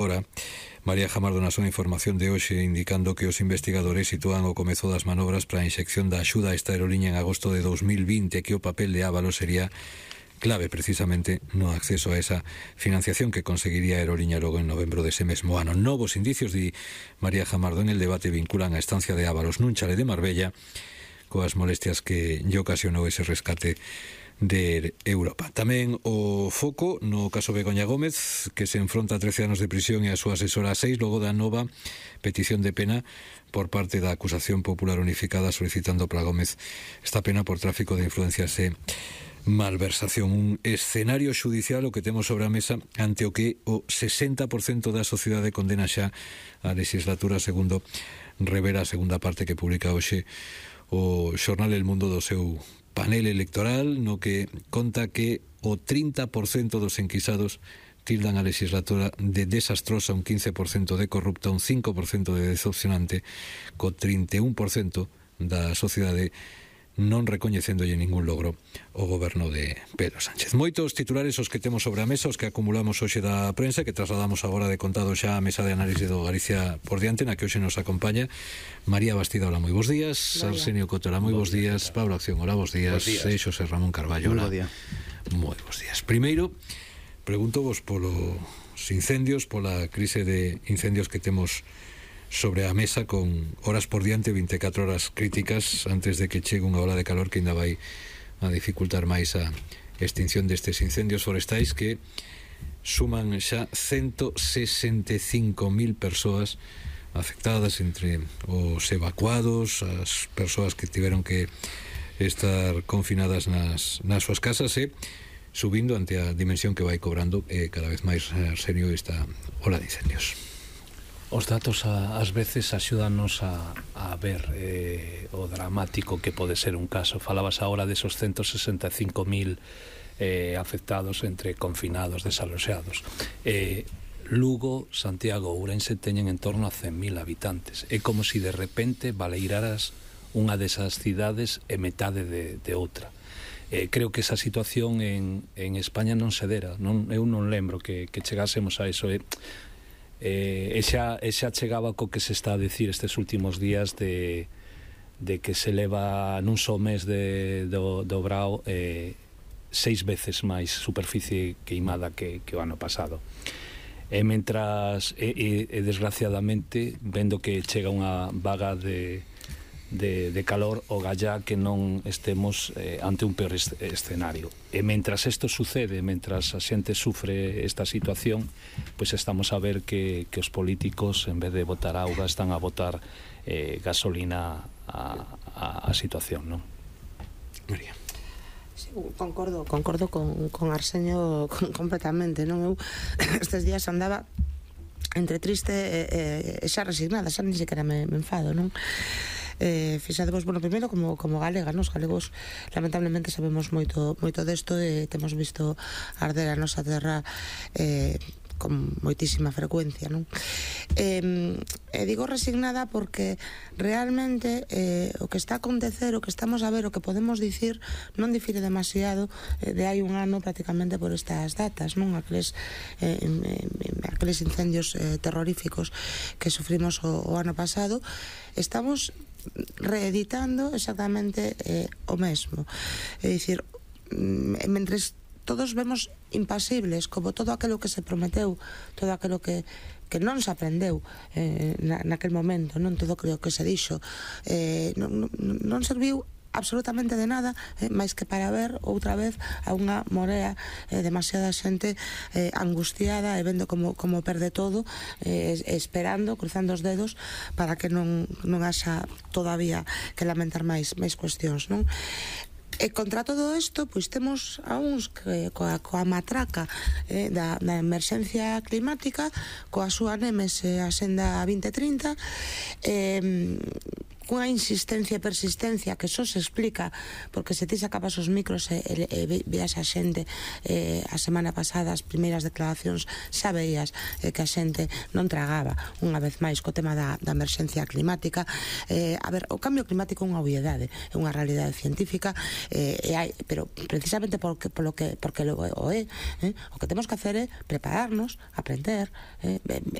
Ahora, María Jamardo na súa información de hoxe indicando que os investigadores sitúan o comezo das manobras para a inxección da axuda a esta aerolínea en agosto de 2020, que o papel de Ábalos sería clave precisamente no acceso a esa financiación que conseguiría a aerolínea logo en novembro dese mesmo ano. Novos indicios, di María Jamardo, en el debate vinculan a estancia de Ábalos nun chale de Marbella coas molestias que lle ocasionou ese rescate de Europa. Tamén o foco no caso Begoña Gómez, que se enfronta a 13 anos de prisión e a súa asesora a 6 logo da nova petición de pena por parte da acusación popular unificada solicitando para Gómez esta pena por tráfico de influencias e malversación. Un escenario xudicial o que temos sobre a mesa ante o que o 60% da sociedade condena xa a legislatura, segundo revela a segunda parte que publica hoxe o xornal El Mundo do seu panel electoral, no que conta que o 30% dos enquisados tildan a legislatura de desastrosa, un 15% de corrupta, un 5% de decepcionante, co 31% da sociedade non recoñecéndolle ningún logro o goberno de Pedro Sánchez. Moitos titulares os que temos sobre a mesa, os que acumulamos hoxe da prensa, que trasladamos agora de contado xa a mesa de análise do Galicia por diante, na que hoxe nos acompaña María Bastida, hola, moi bons días. Arsenio Coto, hola, moi bons días. Pablo Acción, hola, bons días. E Xosé Ramón Carballo, hola, moi bons días. Primeiro, pregunto vos polos incendios, pola crise de incendios que temos sobre a mesa, con horas por diante, 24 horas críticas antes de que chegue unha ola de calor que ainda vai a dificultar máis a extinción destes incendios forestais que suman xa 165.000 persoas afectadas, entre os evacuados, as persoas que tiveron que estar confinadas nas súas casas, e subindo ante a dimensión que vai cobrando cada vez máis serio esta ola de incendios. Os datos ás veces axúdanos a ver o dramático que pode ser un caso. Falabas agora desos 165.000 afectados entre confinados, desaloxados. Lugo, Santiago, Ourense teñen en torno a 100.000 habitantes. É como se de repente baleiraras unha desas cidades e metade de outra. Creo que esa situación en España non se dera. Eu non lembro que chegásemos a eso. E xa chegaba co que se está a dicir estes últimos días de que se leva nun só mes do Brao 6 veces máis superficie queimada que o ano pasado. E mentras desgraciadamente, vendo que chega unha vaga de calor, o gallá que non estemos ante un peor escenario. E mentras isto sucede, mentras a xente sufre esta situación, pois estamos a ver que os políticos, en vez de botar auga, están a botar gasolina a situación, non? María. Sí, concordo con Arsenio completamente, non? Eu estes días andaba entre triste e xa resignada, xa ni sequera me enfado, non? Fixadevos, bueno, primeiro como galega, nos galegos lamentablemente sabemos moito desto e temos visto arder a nosa terra con moitísima frecuencia, non? Digo resignada porque realmente o que está a acontecer, o que estamos a ver, o que podemos dicir non difire demasiado de hai un ano prácticamente por estas datas, non? Aqueles incendios terroríficos que sufrimos o ano pasado. Estamos reeditando exactamente o mesmo. É dicir, mentres todos vemos impasibles como todo aquilo que se prometeu, todo aquilo que non se aprendeu naquel momento, non todo aquilo que se dixo, non serviu absolutamente de nada, máis que para ver outra vez a unha morea demasiada xente angustiada e vendo como perde todo, esperando, cruzando os dedos para que non haxa todavía que lamentar máis cuestións, non? E contra todo isto, pois temos a uns que coa matraca da emerxencia climática, coa súa némese a Senda 2030, cunha insistencia e persistencia que só se explica porque se ti sacabas os micros e veas a xente a semana pasada as primeiras declaracións xa veías que a xente non tragaba unha vez máis co tema da emerxencia climática. A ver, o cambio climático é unha obviedade, é unha realidade científica, pero precisamente porque o que o que temos que hacer é prepararnos, aprender,